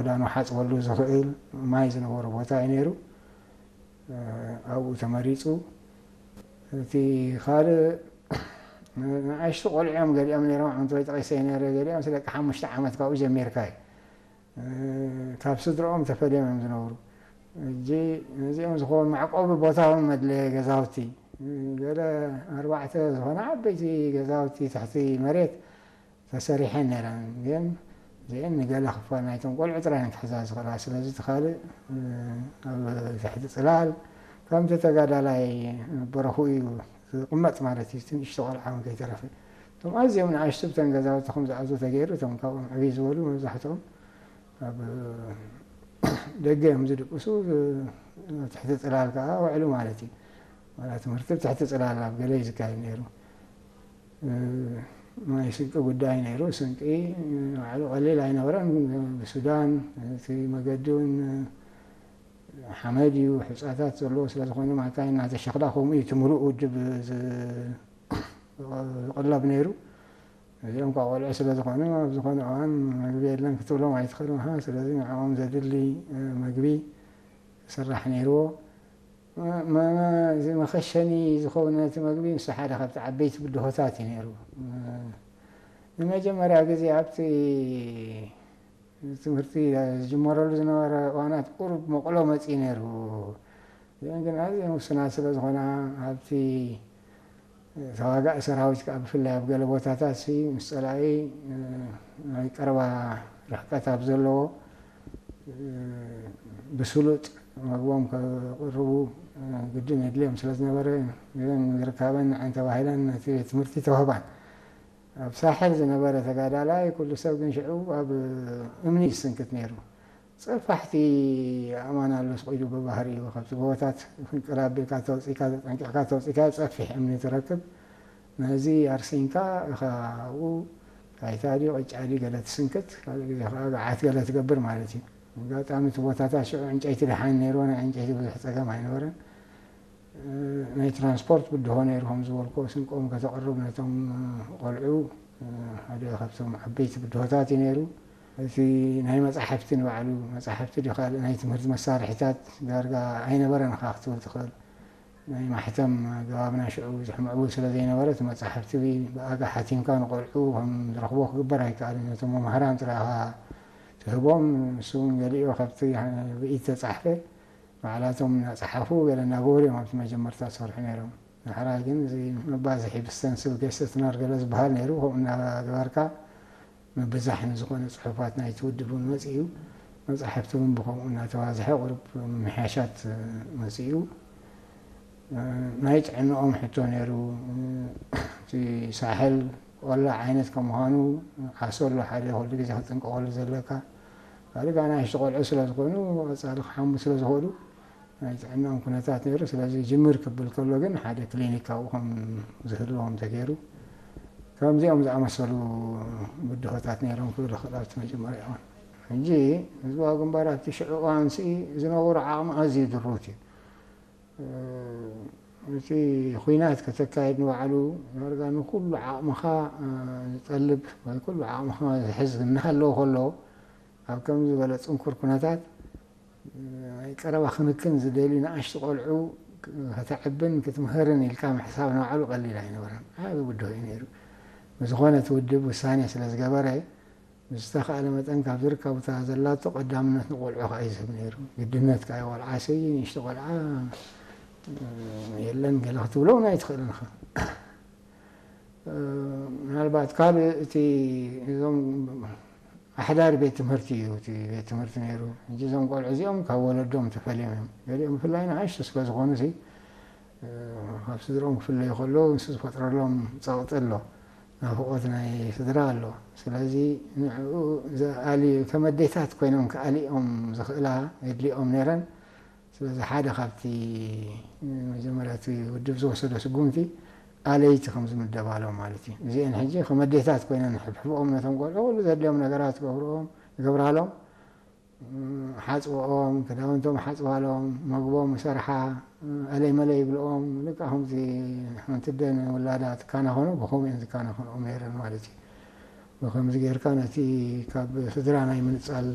ክዳኑ ሓፅበሉ ዝኽእል ማይ ዝነበሮ ቦታ እዩ ነይሩ። ኣብኡ ተመሪፁ። እቲ ካልእ ንኣሽቱ ቆልዑ እዮም ገሊኦም ነይሮም፣ ዓመት ወይ ጠቂሰ ነይረ፣ ገሊኦም ስለ ደቂ ሓሙሽተ ዓመት ካብኡ ጀሚርካ እዩ። ካብ ስድረኦም ተፈልዮም እዮም ዝነብሩ። እጂ ነዚኦም ዝኾኑ መዕቆቢ ቦታ እውን መድለየ ገዛውቲ፣ ገለ ኣርባዕተ ዝኾነ ዓበይቲ ገዛውቲ ትሕቲ መሬት ተሰሪሐን ነይረን። ግን እዚአን ንገለ ክፋል ናይቶም ቆልዑ ጥራይ እየን ክሕዛ ዝኽእላ። ስለዚ እቲ ካልእ ኣብ ትሕቲ ፅላል ከምቲ ተጋዳላይ በረኹ እዩ ዝቕመጥ ማለት እዩ። እቲ ንእሽቶ ቆልዓ እውን ከይተረፈ እቶም ኣዝዮም ንኣሽቱ ብተን ገዛውቲ ከም ዝኣትዉ ተገይሩ፣ እቶም ካብኦም ዕብይ ዝበሉ መብዛሕትኦም ኣብ ደገ እዮም ዝድቅሱ፣ ኣብ ትሕቲ ፅላል ከዓ ውዕሉ ማለት እዩ። ዋላ ትምህርቲ ብትሕቲ ፅላል ኣብ ገለ እዩ ዝካየድ ነይሩ። ናይ ስንቂ ጉዳይ ነይሩ። ስንቂ ባዕሉ ቀሊል ኣይነበረን። ብሱዳን እቲ መገዲ እውን ሓመድ እዩ፣ ሕፃታት ዘለዎ ስለ ዝኾነ ማካይን እናተሸኽላ ከምኡ እዩ እቲ ምሉእ ውድብ ዝ- ዝቕለብ ነይሩ። እዚኦም ካብ ቆልዑ ስለ ዝኾኑ ኣብ ዝኾነ እዋን መግቢ የለን ክትብሎም ኣይትኽእልን ኢኻ። ስለዚ ንዕኦም ዘድሊ መግቢ ክስራሕ ነይርዎ። መ- መ- እዚ መኸሸኒ ዝኸውን ነቲ መግቢ ምስ ሓደ ካብቲ ዓበይቲ ብድሆታት እዩ ነይሩ። ንመጀመርያ ግዜ ኣብቲ ትምህርቲ ዝጅመረሉ ዝነበረ እዋናት ቁሩብ መቕሎ መፅኢ ነይሩ። እዚአን ግን ኣዝየን ውሱናት ስለ ዝኾና ኣብቲ ተዋጋኢ ሰራዊት ከዓ ብፍላይ ኣብ ገለ ቦታታት ሲ ምስ ፀላኢ ናይ ቀረባ ርሕቀት ኣብ ዘለዎ ብስሉጥ መግቦም ከቕርቡ ግድን የድልዮም ስለ ዝነበረ እዘን ዝርካበን ንዓን ተባሂለን ነቲ ቤት ትምህርቲ ተዋህባን። ኣብ ሳሕል ዝነበረ ተጋዳላይ ኩሉ ሰብ ግን ሽዑ ኣብ እምኒ ይስንክት ነይሩ። ጸፋሕቲ ኣእማን ኣሎ ስቕ ኢሉ ብባህሪኡ ካብቲ ጎቦታት ፍንቅል ኣቢልካ ተውጺእካ ተጠንቂቕካ ተውጺእካ ጸፊሕ እምኒ ትረክብ። ነዚ ኣርሲንካ ኢኻ ኣብኡ ባይታ ድዩ ቅጫ ድዩ ገለ ትስንክት፣ ካልእ ግዜ ከኣ ገዓት ገለ ትገብር ማለት እዩ። ኣጋጣሚ እቲ ቦታታት ሽዑ ዕንጨይቲ ደሓን ነይርዎ፣ ናይ ዕንጨይቲ ብዙሕ ጸገም ኣይነበረን። ናይ ትራንስፖርት ብድሆ ነይሩ፣ ከም ዝበልኩ ስንቆም ከተቕርብ ነቶም ቆልዑ ሓደ ካብቶም ዓበይቲ ብድሆታት እዩ ነይሩ። እቲ ናይ መጻሕፍቲ ንባዕሉ መጻሕፍቲ ድዩ ካልእ ናይ ትምህርቲ መሳርሒታት ዳርጋ ኣይነበረን ኢኻ ክትብል ትኽእል። ናይ ማሕተም ኣገባብና ሽዑ ብዙሕ ምዕቡል ስለ ዘይነበረ እቲ መጻሕፍቲ ብኣጋ ሓቲምካ ንቆልዑ ከም ዝረኽቦ ክግበር ኣይከኣልን። ነቶም መምሃራን ጥራይ ኢኻ ትህቦም። ንሱ እውን ገሊኡ ካብቲ ብኢድ ተጻሕፈ ባዕላቶም እናጸሓፉ ገለ እናገበሩ እዮም ኣብቲ መጀመርታ ዝሰርሑ ነይሮም። ዳሕራይ ግን እዚ መባዝሒ ብስተንስል ገሰትነር ገለ ዝበሃል ነይሩ። ከምኡ እናገበርካ ምብዛሕ ንዝኾነ ጽሑፋት ናይቲ ውድብ እውን መጺኡ። መጻሕፍቲ እውን ብኸምኡ እናተባዝሐ ቁሩብ ምምሕያሻት መጺኡ። ናይ ጥዕንኦም ሕቶ ነይሩ። እቲ ሳሕል ቆላ ዓይነት ከም ምዃኑ ዓሶ ኣሎ ሓደ ኩሉ ግዜ ክትጥንቀቐሉ ዘለካ። ካልእ ከኣ ንኣሽቱ ቆልዑ ስለ ዝኾኑ ቀጻሊ ክሓሙ ስለ ዝኽእሉ ናይ ጥዕንኦም ኩነታት ነይሩ። ስለዚ ጅምር ክብል ከሎ ግን ሓደ ክሊኒክ ኣብኡ ከም ዝህልዎም ተገይሩ። ከምዚኦም ዝኣመሰሉ ብድሆታት ነይሮም ክብል ይኽእል ኣብቲ መጀመርያ እዋን። ሕጂ ህዝባዊ ግንባር ኣብቲ ሽዑ እዋንሲ ዝነበሮ ዓቕሚ ኣዝዩ ድሩት እዩ። እቲ ኹናት ከተካይድ ንባዕሉ ዳርጋ ንኹሉ ዓቕምኻ ዝጠልብ ወይ ኩሉ ዓቕምኻ ዝሕዝ እናሃለወ ከሎ ኣብ ከምዚ ዝበለ ጽንኩር ኩነታት ናይ ቀረባ ክንክን ዝደልዩ ንኣሽቱ ቆልዑ ከተዕብን ክትምህርን ኢልካ ምሕሳብ ንባዕሉ ቀሊል ኣይነበረን። ዓቢ ብድሆ እዩ ነይሩ። ብዝኾነ እቲ ውድብ ውሳኔ ስለ ዝገበረ ብዝተኻእለ መጠን ካብ ዝርከቡ እታ ዘላቶ ቀዳምነት ንቆልዑ ከኣ እዩ ዝህብ ነይሩ። ግድነት ከኣ እዩ ቆልዓሲ ንእሽቶ ቆልዓ የለን ገለ ክትብሎ እውን ኣይትኽእልን ኢኻ። ምናልባት ካልእ እቲ እዞም ኣሕዳሪ ቤት ትምህርቲ እዩ እቲ ቤት ትምህርቲ ነይሩ። ሕጂ እዞም ቆልዑ እዚኦም ካብ ወለዶም ተፈልዮም እዮም። ገሊኦም ብፍላይ ንኣሽቱ ስለ ዝኾኑ ሲ ካብ ስድርኦም ክፍለዩ ከለዉ ንሱ ዝፈጥረሎም ጸቕጢ ኣሎ፣ ናፍቖት ናይ ስድራ ኣሎ። ስለዚ ንዕኡ ዝኣልዩ ከም ኣዴታት ኮይኖም ክኣልዮም ዝኽእላ የድልኦም ነይረን። ስለዚ ሓደ ካብቲ መጀመርያ እቲ ውድብ ዝወሰዶ ስጉምቲ ኣለይቲ ከም ዝምደባሎም ማለት እዩ። እዚአን ሕጂ ከም ኣዴታት ኮይነን ሕብሕብኦም ነቶም ቆልዑ ኩሉ ዘድልዮም ነገራት ገብርኦም ይገብራሎም። ሓፅብኦም፣ ክዳውንቶም ሓፅባሎም፣ መግቦም ይሰርሓ፣ ኣለይ መለይ ይብልኦም። ልክዕ ከምዚ ሓንቲ ኣደ ንውላዳ ትካናኸኖ ብኸምኡ እየን ዝካናኸንኦም ነይረን ማለት እዩ። ብኸምዚ ጌርካ ነቲ ካብ ስድራ ናይ ምንፃል